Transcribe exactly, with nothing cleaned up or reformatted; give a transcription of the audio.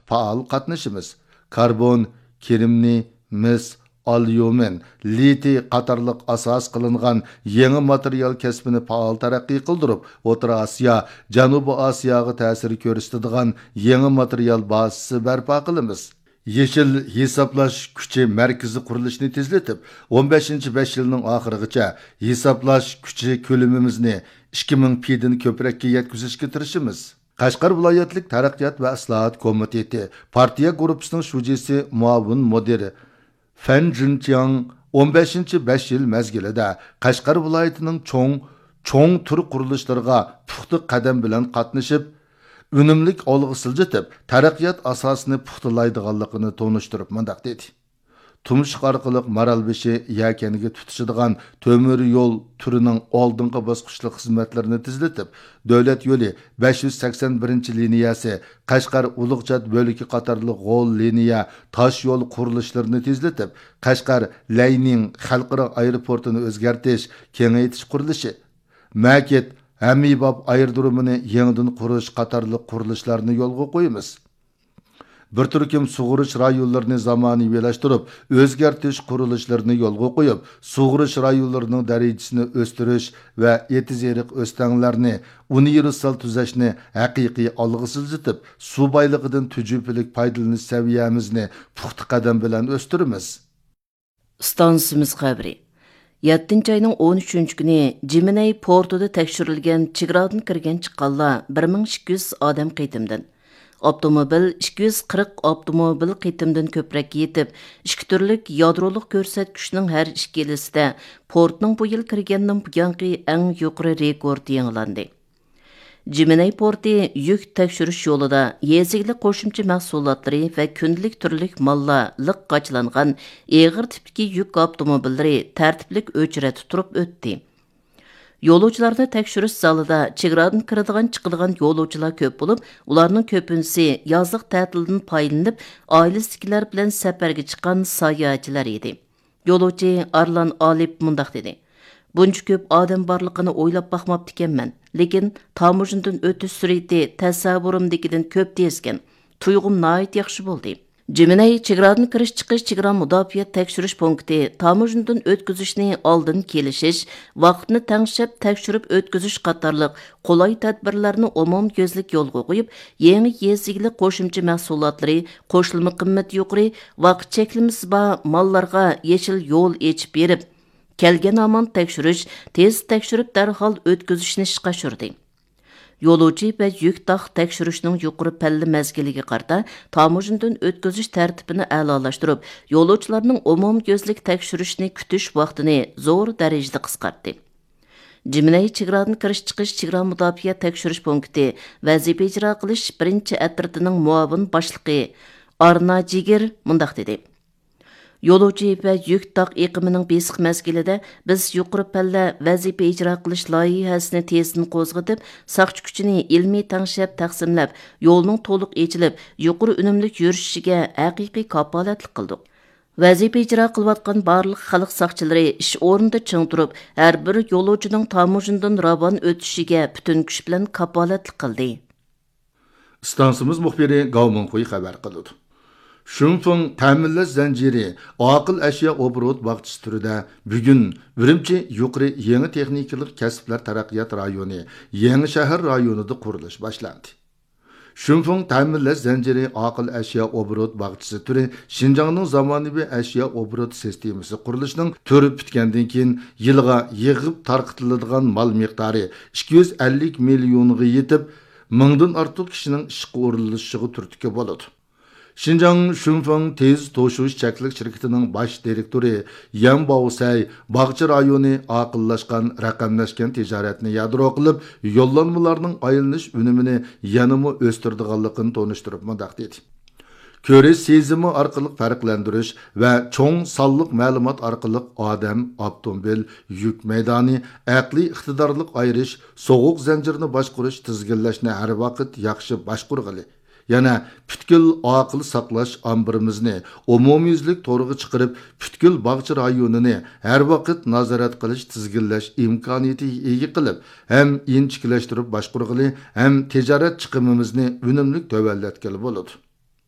پائال قاتنىشىمىز. كاربون، كرېمنىي، مىس، ئاليۇمىن، لىتىي قاتارلىق ئاساس قىلىنغان يېڭى ماتېرىيال كەسپىنى پائال تەرەققىي قىلدۇرۇپ، ئوتتۇرا ئاسىيا، جەنۇبىي ئاسىياغا تەسىر كۆرسىتىدىغان يېڭى ماتېرىيال بازىسى بەرپا قىلىمىز. يېشىل ھېسابلاش كۈچى مەركىزى قۇرۇلۇشىنى تېزلىتىپ، ئون بەشىنچى بەش يىلنىڭ ئاخىرىغىچە ھېسابلاش كۈچى كۆلىمىمىزنى ئىككى مىڭ پىدىن كۆپرەككە يەتكۈزۈشكە تىرىشىمىز. قەشقەر ۋىلايەتلىك تەرەققىيات ۋە ئىسلاھات كومىتېتى پارتىيە گۇرۇپپىسىنىڭ شۇجىسى، مۇئاۋىن مۇدىرى فەن جۈنچياڭ ئون بەشىنچى بەش يىل مەزگىلىدە قەشقەر ۋىلايىتىنىڭ چوڭ، چوڭ تۈر قۇرۇلۇشلىرىغا پۇختا قەدەم بىلەن قاتنىشىپ، ئۈنۈملۈك ئالغا سىلجىتىپ، تەرەققىيات ئاساسىنى پۇختىلايدىغانلىقىنى تونۇشتۇرۇپ مۇنداق دېدى: تۇمشۇق ئارقىلىق مارالبېشى يەكەنگە تۇتىشىدىغان تۆمۈر يول تۈرىنىڭ ئالدىنقى باسقۇچلۇق خىزمەتلىرىنى تېزلىتىپ، دۆلەت يولى بەش يۈز سەكسەن بىرىنچى لىنىيەسى قەشقەر ئۇلۇغچات بۆلىكى قاتارلىق غول لىنىيە تاش يول قۇرۇلۇشلىرىنى تېزلىتىپ، قەشقەر لەينىڭ خەلقئارا ئايروپورتىنى ئۆزگەرتىش، كېڭەيتىش قۇرۇلۇشى، مەكىت ھەممىباب ئايرودرومىنى يېڭىدىن قۇرۇش قاتارلىق قۇرۇلۇشلارنى يولغا قويىمىز. بىر تۈركۈم سۇغىرىش رايونلىرىنى زامانىۋىلاشتۇرۇپ، ئۆزگەرتىش قۇرۇلۇشلىرىنى يولغا قويۇپ، سۇغىرىش رايونلىرىنىڭ دەرىجىسىنى ئۆستۈرۈش ۋە ئېتىز-ئېرىق ئۆستەڭلەرنى ئۇنىۋېرسال تۈزەشنى ھەقىقىي ئالغا سىلجىتىپ، سۇ بايلىقىدىن تۈجۈپىلىك پايدىلىنىش سەۋىيەمىزنى پۇختا قەدەم بىلەن ئۆستۈرىمىز. ئىستانسىمىز خەۋىرى. يەتتىنچى ئاينىڭ ئون ئۈچىنچى كۈنى جىمىنەي پورتىدا تەكشۈرۈلگەن چېگرادىن كىرگەن چىققانلار بىر مىڭ ئىككى يۈز ئادەم قېتىمدىن، ئاپتوموبىل ئىككى يۈز قىرىق ئاپتوموبىل قېتىمدىن كۆپرەككە يېتىپ، ئىككى تۈرلۈك يادرولۇق كۆرسەتكۈچنىڭ ھەر ئىككىلىسىدە پورتنىڭ بۇ يىل كىرگەندىن بۇيانقى ئەڭ يۇقىرى رېكورتى يېڭىلاندى. جىمىنەي پورتى يۈك تەكشۈرۈش يولىدا يېزا ئىگىلىك قوشۇمچە مەھسۇلاتلىرى ۋە كۈندىلىك تۈرلۈك ماللار لىق قاچىلانغان ئېغىر تىپتىكى يۈك ئاپتوموبىللىرى تەرتىپلىك ئۆچرەتتە تۇرۇپ ئۆتتى. يولۇچىلارنى تەكشۈرۈش زالىدا چېگرادىن كىرىدىغان، چىقىدىغان يولۇچىلار كۆپ بولۇپ، ئۇلارنىڭ كۆپىنچىسى يازلىق تەتىلدىن پايدىلىنىپ، ئائىلىسىدىكىلەر بىلەن سەپەرگە چىققان ساياھەتچىلەر ئىدى. يولۇچى ئارلان ئالىپ مۇنداق دېدى: بۇنچە كۆپ ئادەم بارلىقىنى ئويلاپ باقماپتىكەنمەن، لېكىن تاموژنىدىن ئۆتۈش سۈرئىتى تەسەۋۋۇرۇمدىكىدىن كۆپ تېزكەن، تۇيغۇم ناھايىتى ياخشى بولدى. جىمىنەي چېگرادىن كىرىش چىقىش چېگرا مۇداپىئە تەكشۈرۈش پونكىتى تاموژنىدىن ئۆتكۈزۈشنى ئالدىن كېلىشىش، ۋاقىتنى تەڭشەپ تەكشۈرۈپ ئۆتكۈزۈش قاتارلىق قولاي تەدبىرلەرنى ئومۇميۈزلۈك يولغا قويۇپ، يېڭى يېزا ئىگىلىك قوشۇمچە مەھسۇلاتلىرى، قوشۇلما قىممىتى يۇقىرى، ۋاقىت چەكلىمىسى بار ماللارغا يېشىل يول ئېچىپ بېرىپ، كەلگەن ھامان تەكشۈرۈش، تېز تەكشۈرۈپ دەرھال ئۆتكۈزۈشنى ئىشقا ئاشۇردى. يولۇچى ۋە يۈك تاق تەكشۈرۈشنىڭ يۇقىرى پەللە مەزگىلىگە قارىتا تاموژنىدىن ئۆتكۈزۈش تەرتىپىنى ئەلالاشتۇرۇپ، يولۇچىلارنىڭ ئومۇميۈزلۈك تەكشۈرۈشنى كۈتۈش ۋاقتىنى زور دەرىجىدە قىسقارتتى. جىمىنەي چېگرادىن كىرىش چىقىش چېگرا مۇداپىئە تەكشۈرۈش پونكىتى ۋەزىپە ئىجرا قىلىش بىرىنچى ئەترىتىنىڭ مۇئاۋىن باشلىقى ئارنا جىگىر مۇنداق دېدى: يولۇچى ۋە يۈك تاق ئېقىمىنىڭ بېسىق مەزگىلىدە بىز يۇقىرى پەللە ۋەزىپە ئىجرا قىلىش لايىھەسىنى تېزدىن قوزغىتىپ، ساقچى كۈچىنى ئىلمىي تەڭشەپ تەقسىملەپ، يولنىڭ تولۇق ئېچىلىپ، يۇقىرى ئۈنۈملۈك يۈرۈشۈشىگە ھەقىقىي كاپالەتلىك قىلدۇق. ۋەزىپە ئىجرا قىلىۋاتقان بارلىق خەلق ساقچىلىرى ئىش ئورنىدا چىڭ تۇرۇپ، ھەر بىر يولۇچىنىڭ تاموژنىدىن راۋان ئۆتۈشىگە پۈتۈن كۈچ بىلەن كاپالەتلىك قىلدى. ئىستانسىمىز مۇخبىرى گاۋ مىڭخۇي خەۋەر قىلىدۇ. شۇنفېڭ تەمىنلەش زەنجىرى ئاقىل ئەشيا ئوبوروت باغچىسى تۈرىدە بۈگۈن ئۈرۈمچى يۇقىرى يېڭى تېخنىكىلىق كەسىپلەر تەرەققىيات رايونى يېڭى شەھەر رايونىدا قۇرۇلۇش باشلاندى. شۇنفېڭ تەمىنلەش زەنجىرى ئاقىل ئەشيا ئوبوروت باغچىسى تۈرى شىنجاڭنىڭ زامانىۋى ئەشيا ئوبوروت سىستېمىسى قۇرۇلۇشىنىڭ تۈر پۈتكەندىن كېيىن يىلىغا يىغىپ تارقىتىلىدىغان مال مىقدارى ئىككى يۈز ئەللىك مىليونغا يېتىپ، مىڭدىن ئارتۇق كىشىنىڭ ئىشقا ئورۇنلىشىشىغا تۈرتكە بولىدۇ. شىنجاڭ شۇنفېڭ تېز توشۇش چەكلىك شىركىتىنىڭ باش دىرېكتورى يەن باۋسەي باغچە رايونى ئاقىللاشقان، رەقەملەشكەن تىجارەتنى يادرو قىلىپ، يوللانمىلارنىڭ ئايلىنىش ئۈنۈمىنى يەنىمۇ ئۆستۈرىدىغانلىقىنى تونۇشتۇرۇپ مۇنداق دېدى: كۆرۈش سېزىمى ئارقىلىق پەرقلەندۈرۈش ۋە چوڭ سانلىق مەلۇمات ئارقىلىق ئادەم، ئاپتوموبىل، يۈك مەيدانى، ئەقلىي ئىقتىدارلىق ئايرىش، سوغۇق زەنجىرىنى باشقۇرۇش، تىزگىنلەشنى ھەر ۋاقىت ياخشى باشقۇرغىلى. يەنە پۈتكۈل ئاقىل ساقلاش ئامبىرىمىزنى ئومۇميۈزلۈك تورغا چىقىرىپ، پۈتكۈل باغچە رايونىنى ھەر ۋاقىت نازارەت قىلىش، تىزگىنلەش ئىمكانىيىتىگە ئىگە قىلىپ، ھەم ئىنچىكىلەشتۈرۈپ باشقۇرغىلى، ھەم تىجارەت چىقىمىمىزنى ئۈنۈملۈك تۆۋەنلەتكىلى بولىدۇ.